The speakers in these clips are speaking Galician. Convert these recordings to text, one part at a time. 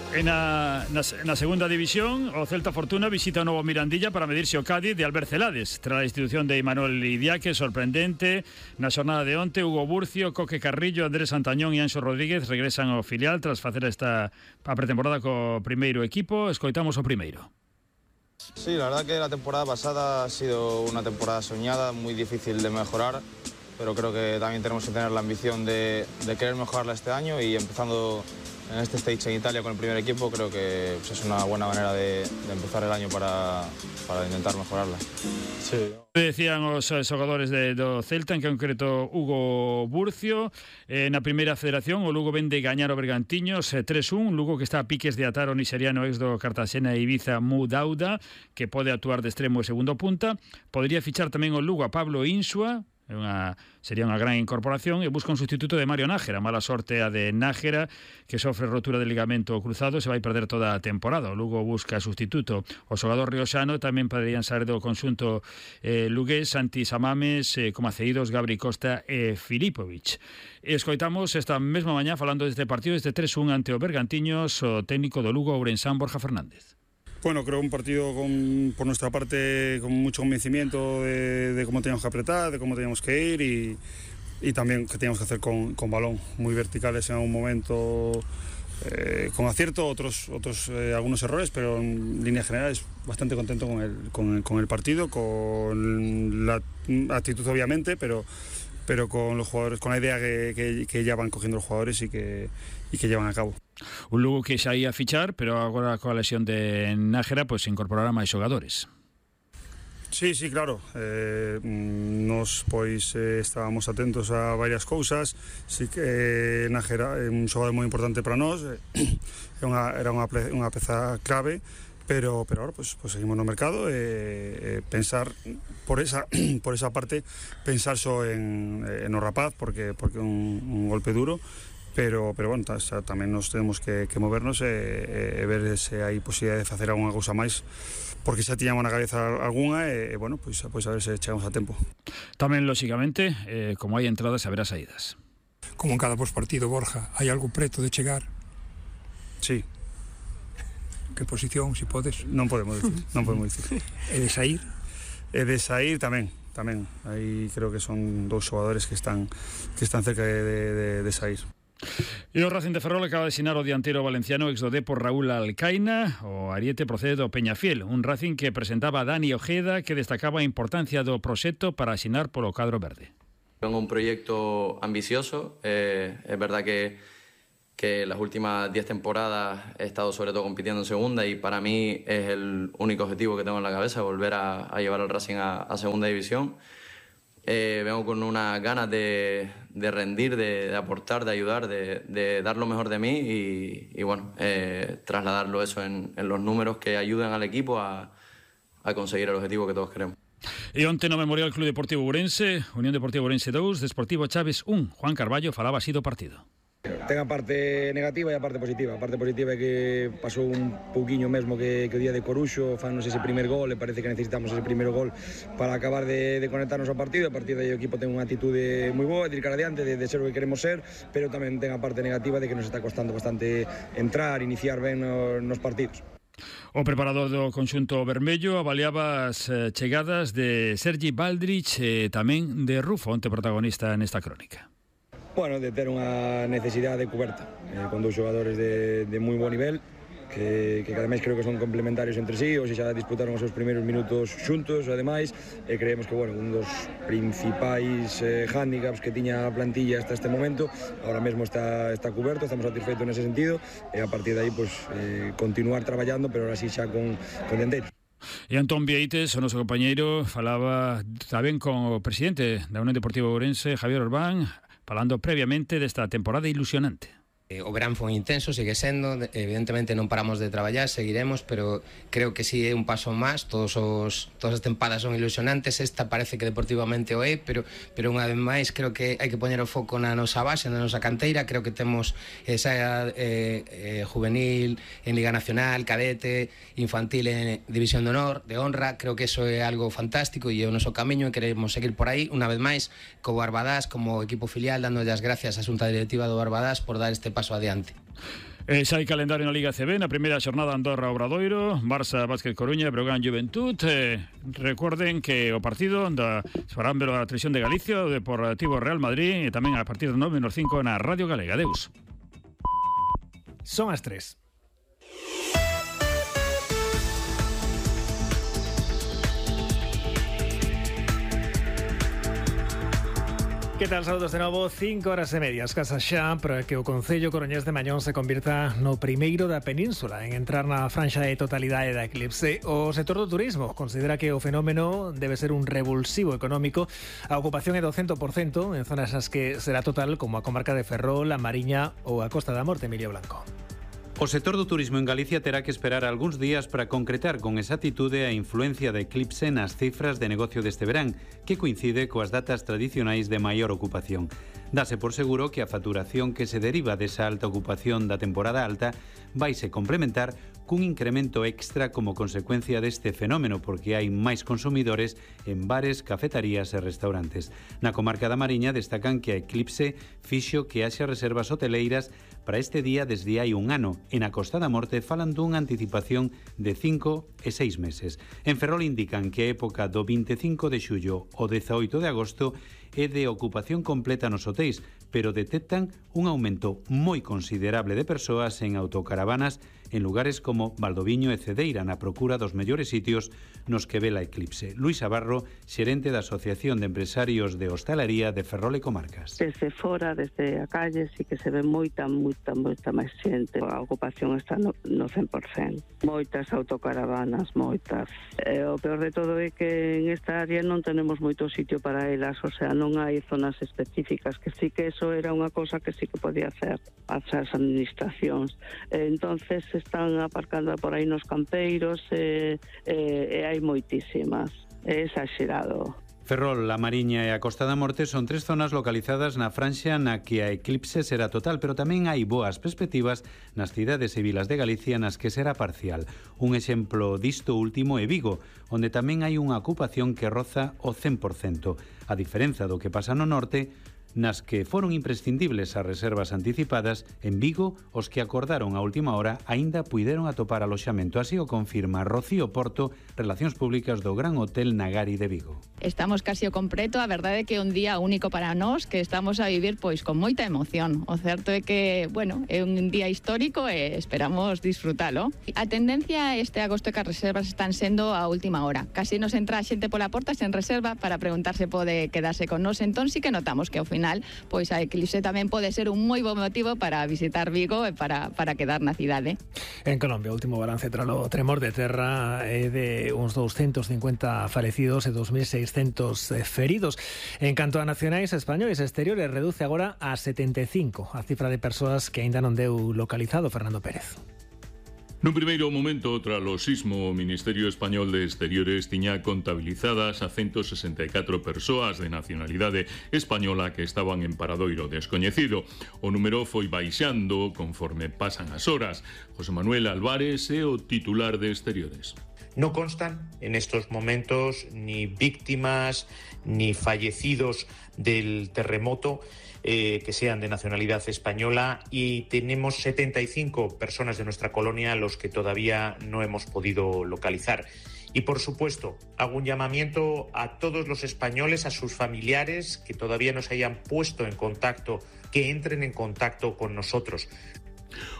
Na segunda división, o Celta Fortuna visita o novo Mirandilla para medirse o Cádiz de Albert Celades. Tras a institución de Imanol Idiáque, sorprendente, na xornada de onte, Hugo Burcio, Coque Carrillo, Andrés Santañón e Anxo Rodríguez regresan ao filial tras facer a pretemporada co primeiro equipo. Escoitamos o primeiro. Sí, la verdad que la temporada pasada ha sido una temporada soñada, muy difícil de mejorar, pero creo que también tenemos que tener la ambición de querer mejorarla este año, y empezando en este stage en Italia con el primer equipo, creo que pues, es una buena manera de empezar el año para intentar mejorarla. Sí. Decían os xogadores do Celta, en concreto Hugo Burcio. Na primeira federación o Lugo vende gañar o Bergantiños 3-1, Lugo que está a piques de atar o nixeriano ex do Cartagena e Ibiza Mu Dauda, que pode actuar de extremo e segundo punta. Podría fichar tamén o Lugo a Pablo Insua, sería unha gran incorporación, e busca un sustituto de Mario Nájera. Mala sorte a de Nájera, que sofre rotura de ligamento cruzado, se vai perder toda a temporada. O Lugo busca sustituto. O xogador rioxano tamén poderían sair do conxunto lugués, Santi Samames, como cedidos Gabri Costa e Filipovic. Escoitamos esta mesma mañá falando deste partido, este 3-1 ante o Bergantiños, o técnico do Lugo Ourensán, Borja Fernández. Bueno, creo un partido por nuestra parte con mucho convencimiento de cómo teníamos que apretar, de cómo teníamos que ir y también que teníamos que hacer con balón, muy verticales en algún momento, con acierto, otros algunos errores, pero en líneas generales bastante contento con el partido, con la actitud obviamente, pero con los jugadores, con la idea que ya van cogiendo los jugadores y que llevan a cabo. Un Lugo que xa ia fichar, pero agora coa lesión de Nájera pues se incorporará máis xogadores. Sí, claro. Nos estábamos atentos a varias cousas. Sí que Nájera é un xogador moi importante para nós. Era unha peza clave. Pero ahora pues seguimos no mercado, pensar por esa parte, pensar só en o rapaz porque un golpe duro, pero bueno, tamén nos temos que movernos e ver se hai posibilidade de facer algunha cousa máis, porque xa tiñamos na cabeza algunha e bueno, pois a ver se chegamos a tempo. Tamén, lóxicamente, como hai entradas, haberá saídas. Como en cada pospartido, Borja, hai algo preto de chegar? Sí. Que posición, se podes? Non podemos dicir. E de sair? E de sair tamén. Aí creo que son dous xogadores que están cerca de sair. E o Racing de Ferrol acaba de asinar o dianteiro valenciano ex do Depor Raúl Alcaina. O ariete procede do Peñafiel, un Racing que presentaba a Dani Ojeda, que destacaba a importancia do proxecto para asinar polo cadro verde. É un proyecto ambicioso, é verdad que las últimas 10 temporadas he estado sobre todo compitiendo en segunda y para mí es el único objetivo que tengo en la cabeza, volver a llevar al Racing a segunda división. Vengo con unas ganas de rendir, de aportar, de ayudar, de dar lo mejor de mí y bueno, trasladarlo eso en los números que ayudan al equipo a conseguir el objetivo que todos queremos. E onte no Memorial Club Deportivo Ourense, Unión Deportiva Ourense 2, Desportivo Chaves 1. Juan Carballo falaba así do partido. Ten a parte negativa e a parte positiva. A parte positiva é que pasou un pouquiño mesmo que o día de Coruxo, fannos ese primer gol e parece que necesitamos ese primeiro gol para acabar de conectarnos ao partido. A partir de aí o equipo ten unha atitude moi boa, de ir cara adiante, de ser o que queremos ser, pero tamén ten a parte negativa de que nos está costando bastante entrar, iniciar ben nos partidos. O preparador do conxunto vermello avaliaba as chegadas de Sergi Baldrich e tamén de Rufo, onte protagonista nesta crónica. Bueno, de ter unha necesidade coberta con dous xogadores de moi bo nivel que ademais creo que son complementarios entre sí, ou se xa disputaron os seus primeiros minutos xuntos, ademais, e creemos que, bueno, un dos principais hándicaps que tiña a plantilla hasta este momento, ahora mesmo está cuberto, estamos satisfeitos nese sentido, e a partir de aí, pues, continuar traballando, pero ahora sí xa con dianteiros. E Antón Vieites, o noso compañeiro, falaba tamén con o presidente da Unión Deportiva Ourense, Javier Orbán, falando previamente desta temporada ilusionante. O verán foi intenso, sigue sendo, evidentemente non paramos de traballar, seguiremos, pero creo que si é un paso máis, todas as tempadas son ilusionantes, esta parece que deportivamente o é, pero unha vez máis creo que hai que poñer o foco na nosa base, na nosa canteira, creo que temos esa juvenil en Liga Nacional, cadete, infantil en División de Honor, de honra, creo que eso é algo fantástico e é o noso camiño e queremos seguir por aí, unha vez máis, co Barbadás como equipo filial, dándolle as gracias á Xunta Directiva do Barbadás por dar este paso adiante. Xa hai calendario na Liga CB, na primeira xornada Andorra Obradoiro, Barça Básquet Coruña, Breogán Juventud. Recorden que o partido farán ver a televisión de Galicia, o Deportivo Real Madrid, e tamén a partir de 9:05 na Radio Galega. Adeus. Son as 3. Que tal, saludos de novo, 5:30, escasa xa para que o Concello Coruñés de Mañón se convirta no primeiro da península en entrar na franxa de totalidade da eclipse. O sector do turismo considera que o fenómeno debe ser un revulsivo económico. A ocupación é do 100% en zonas nas que será total, como a comarca de Ferrol, a Mariña ou a Costa da Morte. Emilio Blanco. O sector do turismo en Galicia terá que esperar algúns días para concretar con exactitude a influencia da eclipse nas cifras de negocio deste verán, que coincide coas datas tradicionais de maior ocupación. Dase por seguro que a facturación que se deriva desa alta ocupación da temporada alta vaise complementar cun incremento extra como consecuencia deste fenómeno, porque hai máis consumidores en bares, cafetarías e restaurantes. Na comarca da Mariña destacan que a eclipse fixo que haxa reservas hoteleiras para este día desde hai un ano, e na Costa da Morte falan dunha anticipación de 5 e 6 meses. En Ferrol indican que a época do 25 de xullo ao 18 de agosto é de ocupación completa nos hotéis, pero detectan un aumento moi considerable de persoas en autocaravanas en lugares como Valdoviño e Cedeira, na procura dos mellores sitios nos que ve a eclipse. Luis Abarro, xerente da Asociación de Empresarios de Hostalería de Ferrol e Comarcas. Desde fora, desde a calle, sí que se ve moita máis xente. A ocupación está no 100%. Moitas autocaravanas, moitas. O peor de todo é que en esta área non tenemos moito sitio para elas, o sea, non hai zonas específicas, que sí que eso era unha cosa que sí que podía hacer as administracións. Entonces están aparcando por aí nos campeiros e hai moitísimas. É exagerado. Ferrol, a Mariña e a Costa da Morte son tres zonas localizadas na franxa na que a eclipse será total, pero tamén hai boas perspectivas nas cidades e vilas de Galicia nas que será parcial. Un exemplo disto último é Vigo, onde tamén hai unha ocupación que roza o 100%. A diferenza do que pasa no norte, nas que foron imprescindibles as reservas anticipadas, en Vigo, os que acordaron a última hora aínda puideron atopar aloxamento. Así o confirma Rocío Porto, Relacións Públicas do Gran Hotel Nagari de Vigo. Estamos casi ao completo, a verdade é que é un día único para nós, que estamos a vivir pois con moita emoción. O certo é que, bueno, é un día histórico e esperamos disfrutalo. A tendencia este agosto é que as reservas están sendo a última hora. Casi nos entra a xente pola porta sen reserva para preguntarse pode quedarse con nós. Entón sí que notamos que ao final pois a eclipse tamén pode ser un moi bo motivo para visitar Vigo e para quedar na cidade. En Colombia, o último balance tras o tremor de terra é de uns 250 falecidos e 2.600 feridos. En canto a nacionais españoles exteriores, reduce agora a 75 a cifra de persoas que aínda non deu localizado. Fernando Pérez. Nun primeiro momento, tras o sismo, o Ministerio Español de Exteriores tiña contabilizadas a 164 persoas de nacionalidade española que estaban en paradoiro descoñecido. O número foi baixando conforme pasan as horas. José Manuel Álvarez é o titular de Exteriores. No constan en estos momentos ni víctimas ni fallecidos del terremoto que sean de nacionalidad española, y tenemos 75 personas de nuestra colonia a los que todavía no hemos podido localizar. Y por supuesto, hago un llamamiento a todos los españoles, a sus familiares que todavía no se hayan puesto en contacto, que entren en contacto con nosotros.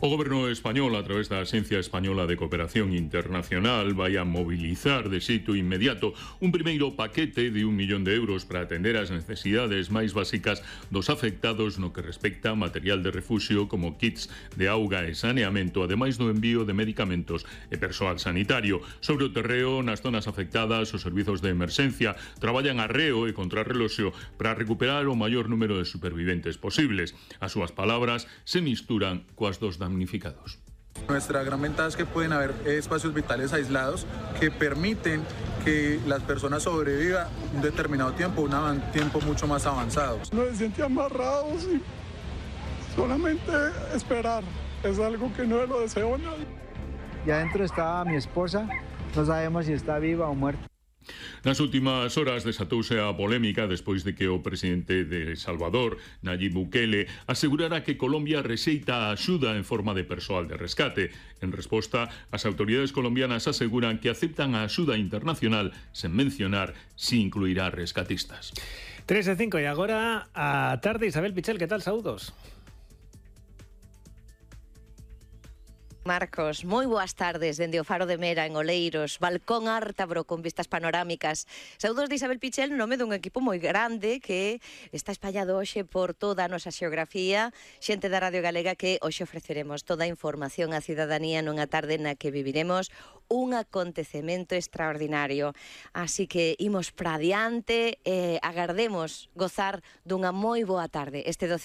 O Goberno español, a través da Axencia Española de Cooperación Internacional, vai a mobilizar de xeito inmediato un primeiro paquete de 1 millón de euros para atender as necesidades máis básicas dos afectados no que respecta a material de refuxio como kits de auga e saneamento, ademais do envío de medicamentos e persoal sanitario. Sobre o terreo, nas zonas afectadas, os servizos de emerxencia traballan a reo e contrarreloxo para recuperar o maior número de superviventes posibles. As súas palabras se misturan coas dos damnificados. Nuestra gran ventaja es que pueden haber espacios vitales aislados que permiten que las personas sobrevivan un determinado tiempo, un tiempo mucho más avanzado. Nos sentían amarrados y solamente esperar. Es algo que no lo deseo nadie. Y adentro estaba mi esposa, no sabemos si está viva o muerta. Nas últimas horas desatouse a polémica despois de que o presidente de Salvador, Nayib Bukele, asegurara que Colombia rexeita a axuda en forma de persoal de rescate. En resposta, as autoridades colombianas aseguran que aceptan a axuda internacional sen mencionar si incluirá rescatistas. 3:05 e agora a tarde. Isabel Pichel, que tal? Saúdos. Marcos, moi boas tardes dende o Faro de Mera en Oleiros, balcón ártabro con vistas panorámicas. Saúdos de Isabel Pichel, nome dun equipo moi grande que está espallado hoxe por toda a nosa xeografía, xente da Radio Galega que hoxe ofreceremos toda a información á cidadanía nunha tarde na que viviremos un acontecemento extraordinario. Así que imos para adiante e agardemos gozar dunha moi boa tarde este 12